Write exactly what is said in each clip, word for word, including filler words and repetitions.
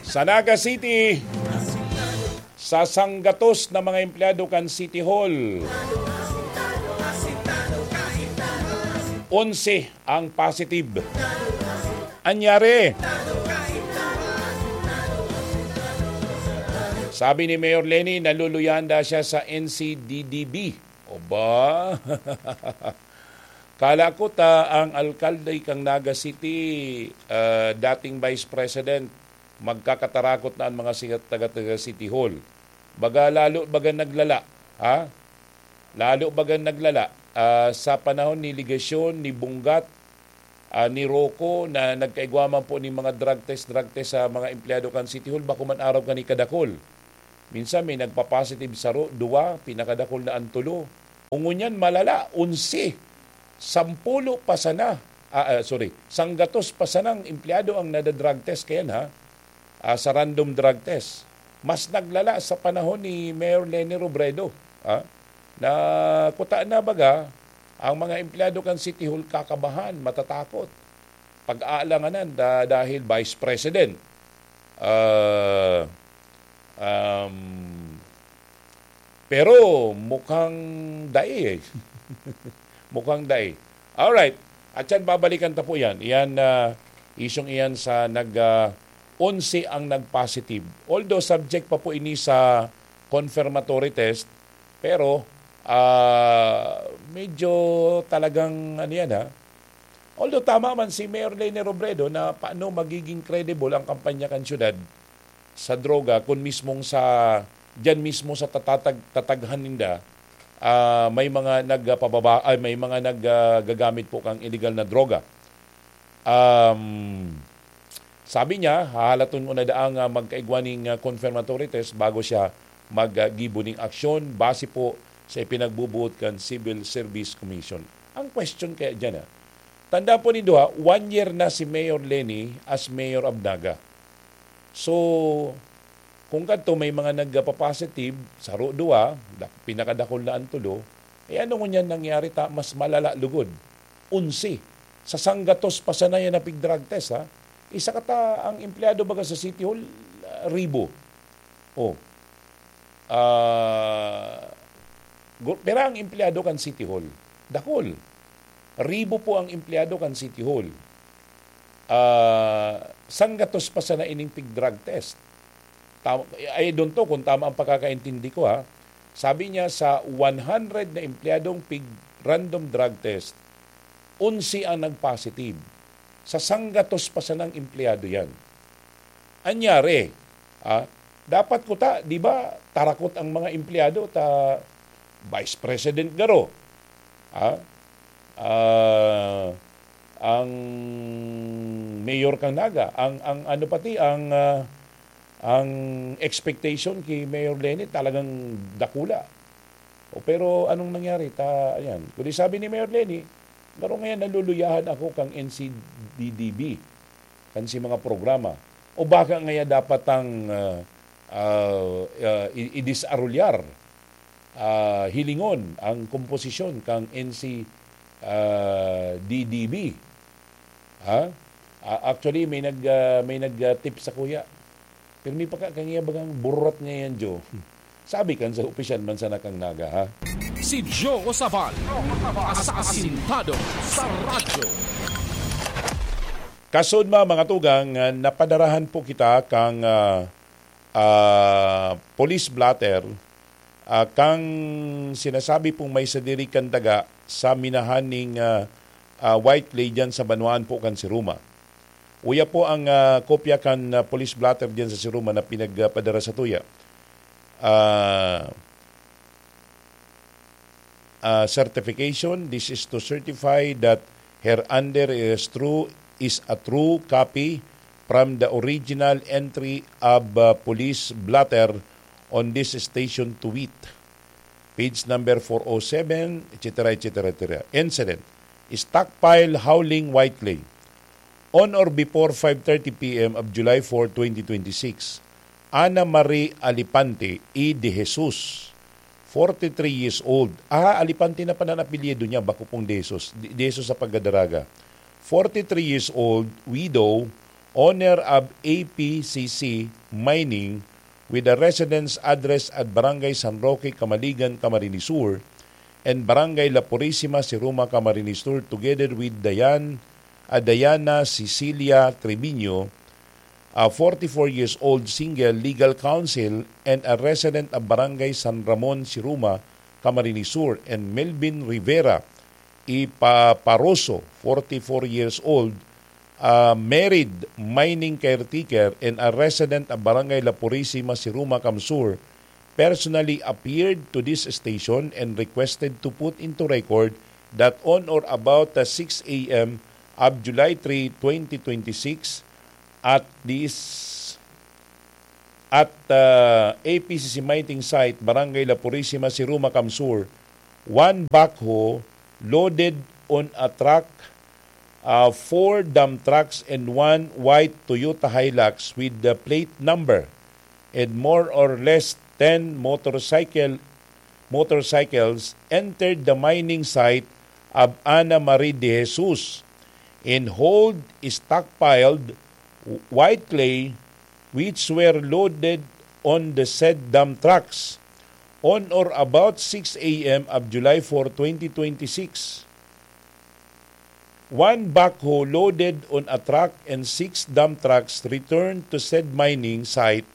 Sa Naga City, sa sanggatos na mga empleyado kan City Hall, onse ang positive. Anyari? Sabi ni Mayor Leni, naluluyan daw siya sa N C D D B. Oba? Kala ko ta ang alkalde kang Naga City, ah, dating vice president, magkakatarakot na ang mga sikat taga, taga City Hall. Baga lalo baga naglala, ha? Lalo baga naglala, ah, sa panahon ni ligasyon ni Bunggat, ah, ni Rocco na nagkaigwa man po ni mga drug test, drug test sa mga empleyado kan City Hall, bako man araw kani kadakol. Minsan may nagpa-positive saro, duwa, pinakadakol na ang tulo. Ngunyan malala, onse, sampulo pa sana, ah, ah, sorry, sanggatos pa sanang empleyado ang nada-drug test kayan, ha? Ah, sa random drug test. Mas naglala sa panahon ni Mayor Leni Robredo, ha? Na kuta na baga, ang mga empleyado kan City Hall kakabahan, matatakot. Pag-aalanganan da-, dahil vice president. Ah, um, pero mukhang dai eh. Mukhang dai. Alright. At yan, babalikan ta po yan. Yan, ah, isyong iyan sa nag, ah, onse ang nag-positive. Although subject pa po ini sa confirmatory test, pero, ah, medyo talagang ano yan, ha? Although tama man si Mayor Leni Robredo na paano magiging credible ang kampanya kan syudad sa droga kun mismong sa, diyan mismo sa tatatag-, tataghan ninda, ah, may mga nagpababa-, ay, may mga nag, ah, gagamit po kang illegal na droga. Um, sabi niya, hahalaton muna daang, ah, magkaigwa ning, ah, confirmatory test bago siya maggibo ning aksyon base po sa ipinagbubuot kan Civil Service Commission. Ang question kaya diyan, ah, tanda po nindo, ha, one year na si Mayor Leni as Mayor of Naga. So, kung kadto may mga nagpa-positive, saro, duwa, da-, pinakadakol na ang tulo, eh, ano ngunyan nangyari ta, mas malala lugod? Onse. Sa sanggatos pa sana yan na pig-drug test, ha? Isa ka ta, ang empleyado baga sa City Hall, ah, ribo. Oh. Ah, gu-, pira ang empleyado kan City Hall? Dakol. Ribo po ang empleyado kan City Hall. Ah, sanggatos pa sana ining pig-drug test. Tam-, I don't know kung tama ang pagkakaintindi ko, ha. Sabi niya, sa one hundred na empleyadong pig-random drug test, onse ang nag-positive. Sa sanggatos pa sanang empleyado yan. Anyari, ah, dapat kuta, di ba, tarakot ang mga empleyado ta Vice President garo, ah, ah, ang mayor kang Naga, ang, ang ano pati, ang, ah, ang expectation ki Mayor Leni talagang dakula. O, pero anong nangyari? Ta, ayan. Kundi sabi ni Mayor Leni, "Garo ngayon naluluyahan ako kang N C D D B, kan si mga programa. O baka ngaya dapat ang, ah, ah, ah, i-, idisarulyar, ah, hilingon ang komposisyon kang N C, ah, D D B." Ha? Ah, actually, may nag, ah, may nag, ah, tip sa kuya. Pero may pagka-, kanya bagang burot ngayon, Joe. Sabi kan sa opisyal man sana kang Naga, ha? Si Joe Osaval, asasintado sa radyo. Kasudma, mga tugang, ah, napadarahan po kita kang, ah, ah, police blotter, ah, kang sinasabi pong may sadiri kan daga sa minahan ning, ah, ah, White Clay dyan sa banwaan po kan Siruma. Uya po ang, ah, kopya kan, ah, police blotter dyan sa Siruma na pinagpadara sa tuya. Ah, ah, certification. This is to certify that hereunder is true, is a true copy from the original entry of, ah, police blotter on this station to wit. Page number four oh seven, et cetera, et cetera, et cetera. Incident. Stockpile howling White Clay. On or before five thirty P M of July four, twenty twenty-six, Ana Marie Alipante y de Jesus, forty-three years old. Ah, Alipante na pala ang apelyido niya, bako pong de Jesus. De, de Jesus sa pagkadaraga. Forty-three years old, widow, owner of A P C C Mining, with a residence address at Barangay San Roque, Camaligan, Camarines Sur, and Barangay La Purisima, Siruma, Camarines Sur, together with Dayan, ah, Diana Cecilia Treviño, a forty-four years old single, legal counsel, and a resident of Barangay San Ramon, Siruma, Camarines Sur, and Melvin Rivera y Paparoso, forty-four years old, a married mining caretaker and a resident of Barangay La Purisima, Siruma, Camsur, personally appeared to this station and requested to put into record that on or about the six a m of July three, twenty twenty-six, at this, at, uh, A P C C mining site, Barangay La Purisima, Siruma, Camsur, one backhoe loaded on a truck, uh, four dump trucks and one white Toyota Hilux with the plate number and more or less ten motorcycle, motorcycles entered the mining site of Ana Marie de Jesus and hauled stockpiled white clay which were loaded on the said dump trucks on or about six a m of July four, twenty twenty-six. One backhoe loaded on a truck and six dump trucks returned to said mining site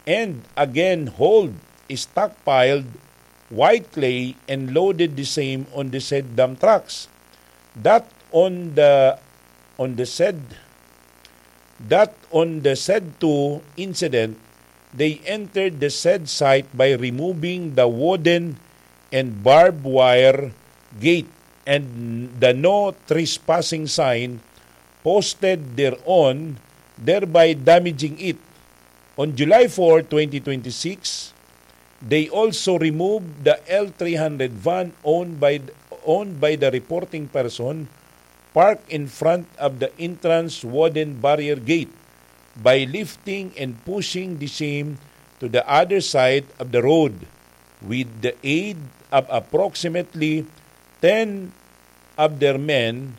and again hauled, stockpiled white clay and loaded the same on the said dump trucks. That on the, on the said, that on the said two incident, they entered the said site by removing the wooden and barbed wire gate and the no trespassing sign posted thereon, thereby damaging it. On July four, twenty twenty-six, they also removed the L three hundred van owned by, owned by the reporting person parked in front of the entrance wooden barrier gate by lifting and pushing the same to the other side of the road with the aid of approximately ten of their men,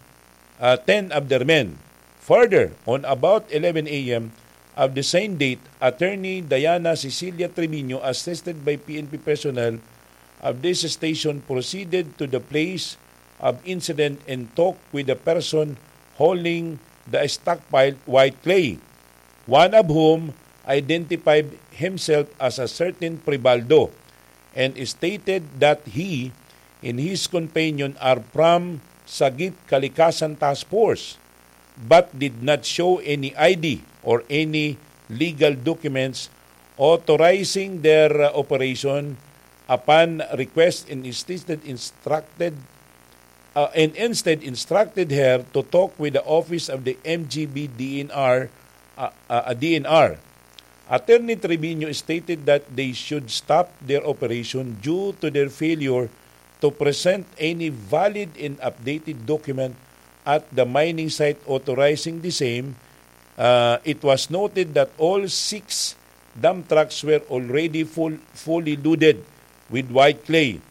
uh, ten of their men. Further, on about eleven a m of the same date, Attorney Diana Cecilia Trevino, assisted by P N P personnel of this station, proceeded to the place of incident and talked with the person hauling the stockpiled white clay, one of whom identified himself as a certain Pribaldo and stated that he and his companion are from Sagip Kalikasan Task Force but did not show any I D or any legal documents authorizing their, uh, operation. Upon request, and instead instructed, uh, and instead instructed her to talk with the office of the M G B D N R, uh, uh, D N R. Attorney Trevino stated that they should stop their operation due to their failure to present any valid and updated document at the mining site authorizing the same. Uh, it was noted that all six dump trucks were already full, fully loaded with white clay.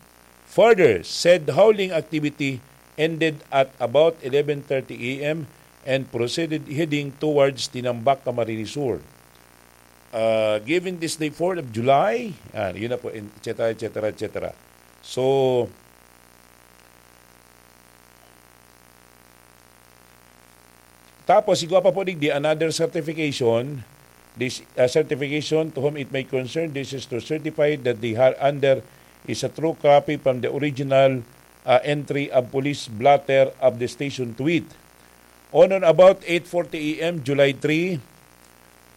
Further, said hauling activity ended at about eleven thirty a m and proceeded heading towards Tinambac, Camarines Sur. Uh, given this day, fourth of July, ah, yun na po, et cetera, et cetera, et cetera. So, tapos, igwa pa po digdi another certification. This, uh, certification, to whom it may concern, this is to certify that the har-, under is a true copy from the original, uh, entry of police blotter of the station to wit. On or about eight forty a m, July three,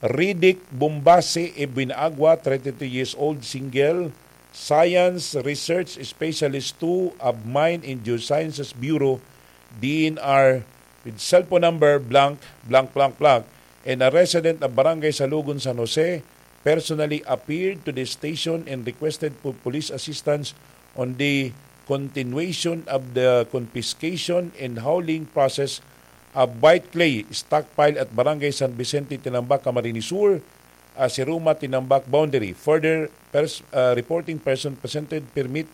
Riddick Bombase Ebinagua, thirty-three years old, single, science research specialist two of Mine and Geosciences Bureau, D N R, with cellphone number blank, blank, blank, blank, and a resident of Barangay Salugon, San Jose, personally appeared to the station and requested for police assistance on the continuation of the confiscation and hauling process of white clay stockpile at Barangay San Vicente, Tinambac, Camarines Sur, uh, Siruma, Tinambac boundary. Further, pers-, uh, reporting person presented permit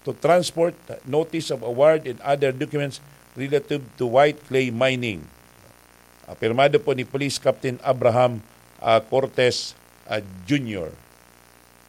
to transport, notice of award, and other documents relative to white clay mining. Ah, pirmado po ni Police Captain Abraham, ah, Cortez, ah, Junior.